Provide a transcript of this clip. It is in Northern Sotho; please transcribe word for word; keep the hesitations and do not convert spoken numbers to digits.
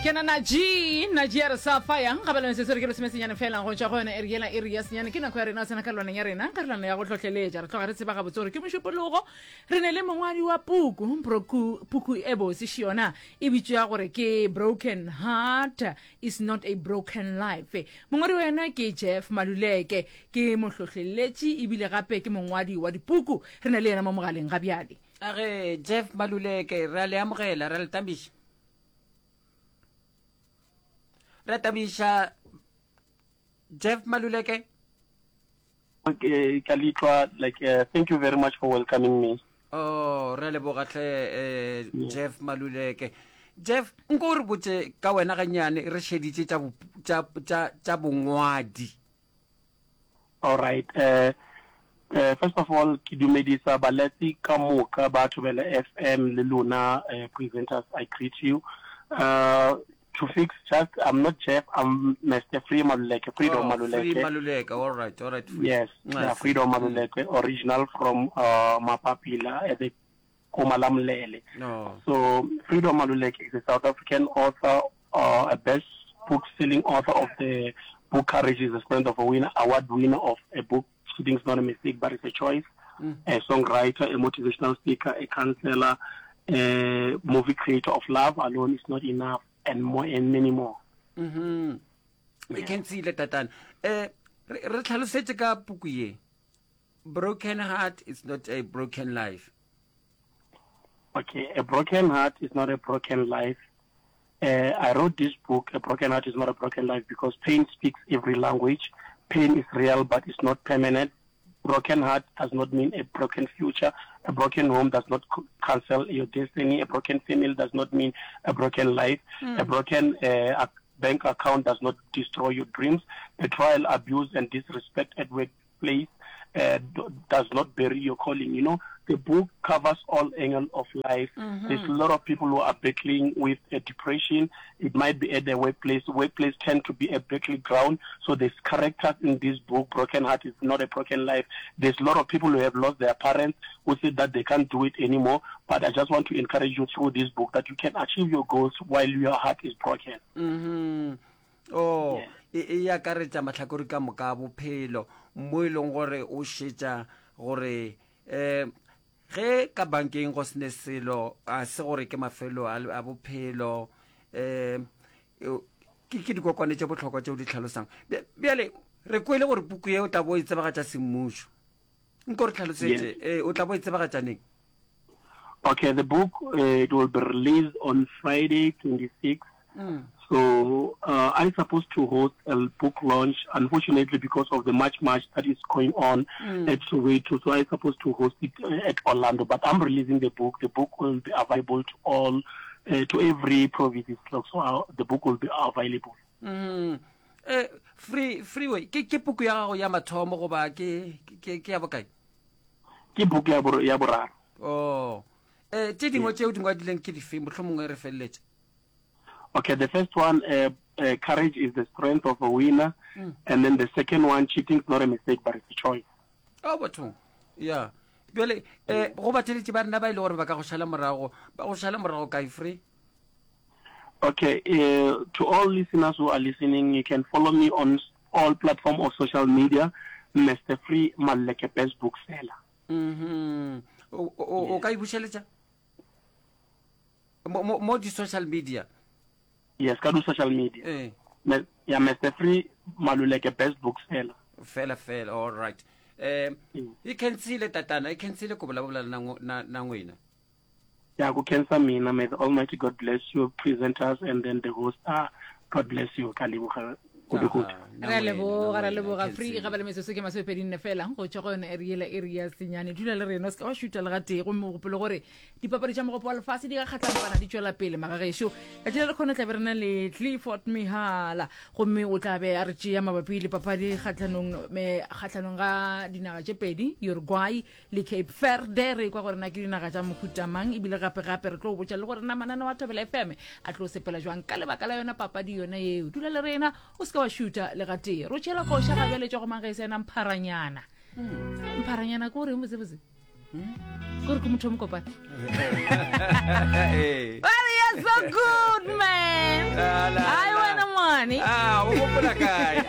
Ke na G, na G ya re sa fa yang gabela metsotso re ke lesomesenyane fela go tšwa go yona iri yela iri ya senyane ke nako ya rena tsena karolwaneng ya rena karolwana ya go hlohleletša re tloga re tseba gabotse gore ke mošupologo re ne le mongwadi wa puku broku puku e botse šiona e bitšwa gore ke broken heart is not a broken life mongwadi wa yona ke Jeff Maluleke ke mohlohleletši ebile gape ke mongwadi wa dipuku re na le yena mo mogaleng ga bjale a ge Jeff Maluleke re a le amogela re a le tamiša re a tamiša Jeff Maluleke Okay, ka letlwa like uh, thank you very much for welcoming me. Oh, re a leboga hle eh, Jeff Maluleke. Jeff, nko o re botse ka wena gannyane re šeditše tša bo- tša tša tša bongwadi. All right. Uh, uh, first of all, ke dumedisa baletsi ka moka ba Thobela FM le lona uh, presenters. I greet you. Uh, to fix just, I'm not Jeff, I'm Mr. Free Maluleke, Freedom Oh, Free Maluleke. Maluleke. All right, all right. Free. Yes, yeah, Nice. Freedom Maluleke, original from uh, Mapapila at the Komalamlele. No. So Freedom Maluleke is a South African author, uh, a best book selling author of the book Courage is the Strength of a Winner, award winner of a book Cheating is Not a Mistake but It's a Choice, Mm. a songwriter, a motivational speaker, a counselor, a movie creator of Love Alone is Not Enough, and more and many more. Mhm. E khensile tatana. Eh re re tlhalosetše ka puku ye. Broken heart is not a broken life. Okay, a broken heart is not a broken life. Uh, I wrote this book, A Broken Heart is Not a Broken Life, because pain speaks every language. Pain is real, but it's not permanent. Broken heart does not mean a broken future. A broken home does not c- cancel your destiny. A broken family does not mean a broken life. A broken uh, ac- bank account does not destroy your dreams. Betrayal, abuse, and disrespect at workplace uh, d- does not bury your calling. You know, the book covers all angles of life. There's a lot of people who are battling with uh, depression. It might be at their workplace. Workplace tend to be a battleground. So there's characters in this book. Broken Heart is not a broken life. There's a lot of people who have lost their parents who say that they can't do it anymore. But I just want to encourage you through this book that you can achieve your goals while your heart is broken. Mhm. Oh, Yeah. e e akaretša mahlakore ka moka a bophelo mo e leng gore o šetša gore eh ge ka bankeng go sene selo a se gore ke mafelo a a bophelo eh e- ke ke dikokwane tše bohlokwa tšeo di tlhalosang Bja- bjale re kwele gore puku ye o tla bo e tsebagatša semmušo nko re tlhalosetše eh o tla bo e tsebagatša neng Okay, the book uh, it will be released on Friday, twenty-sixth. Mm. So uh, I'm supposed to host a book launch. Unfortunately, because of the March March that is going on Mm. at Soweto, so I'm supposed to host it uh, at Orlando. But I'm releasing the book. The book will be available to all, uh, to every province. So uh, the book will be available. Mm. Eh free freeway ke ke puku ya gago ya mathomo goba ke ke ke ya bokae Ke book ya bor- ya boraro. Oh. Eh tše dingwe tšeo di ngwadileng ke dife mohlomongwe re feleletše Okay, the first one, uh, uh, courage is the strength of a winner, Mm. and then the second one, cheating is not a mistake but it's a choice. oh bathong ya bjale eh go batheletši ba rena ba ile gore ba ka go šala morago ba go šala morago kae free Okay, uh, to all listeners who are listening, you can follow me on s- all platform of social media, Mr. Free Maluleke Best Bookseller. mhm o o o ka e bušeletša mo mo mo di social media Yes, ka do social media. eh Me- yeah, Mr. Free Maluleke Best Bookseller. fela fela all right eh Mm. e khensile tatana e khensile ko bolabola na ngo- na na ngwena Yeah, go cancer mina. May the Almighty God bless you, presenters, and then the host. Ah, God bless you. Ka leboga kudu-kudu. Aha, na re a ngwena, na leboga re a ngwena, leboga free Khensile. ga ba le metsotso ke masomepedi nne fela go tšwa go yona eri yela eri ya senyane dula le rena o se ka wa šuta le gatee gomme o gopole gore dipapadi tša mogopo wa lefase di ka kgatlampana di tšwela pele magagešo letšatši la lekgono tla be re na le Clifford Mihala gomme o tla be a re tšea mabapi le papadi kgatlhanong me- kgatlhanong ga dinaga tše pedi Uruguay le Cape Verde re kwa gore na ke dinaga tša mohuta mang ebile gape-gape re tlo o botša le gore na mananeo a Thobela FM a tlo sepela jwang ka lebaka la yona papadi yona yeo dula le rena o se ka wa šuta le gatee ro tšhela koša ga bjale tša go magese ena mpharanyana mpharanyana ke goreng botsebotse ke gore ke motho o mokopana Eh. Well, you're so good man Ah. la, Ai la. wena mane. Ah, o gopola kae?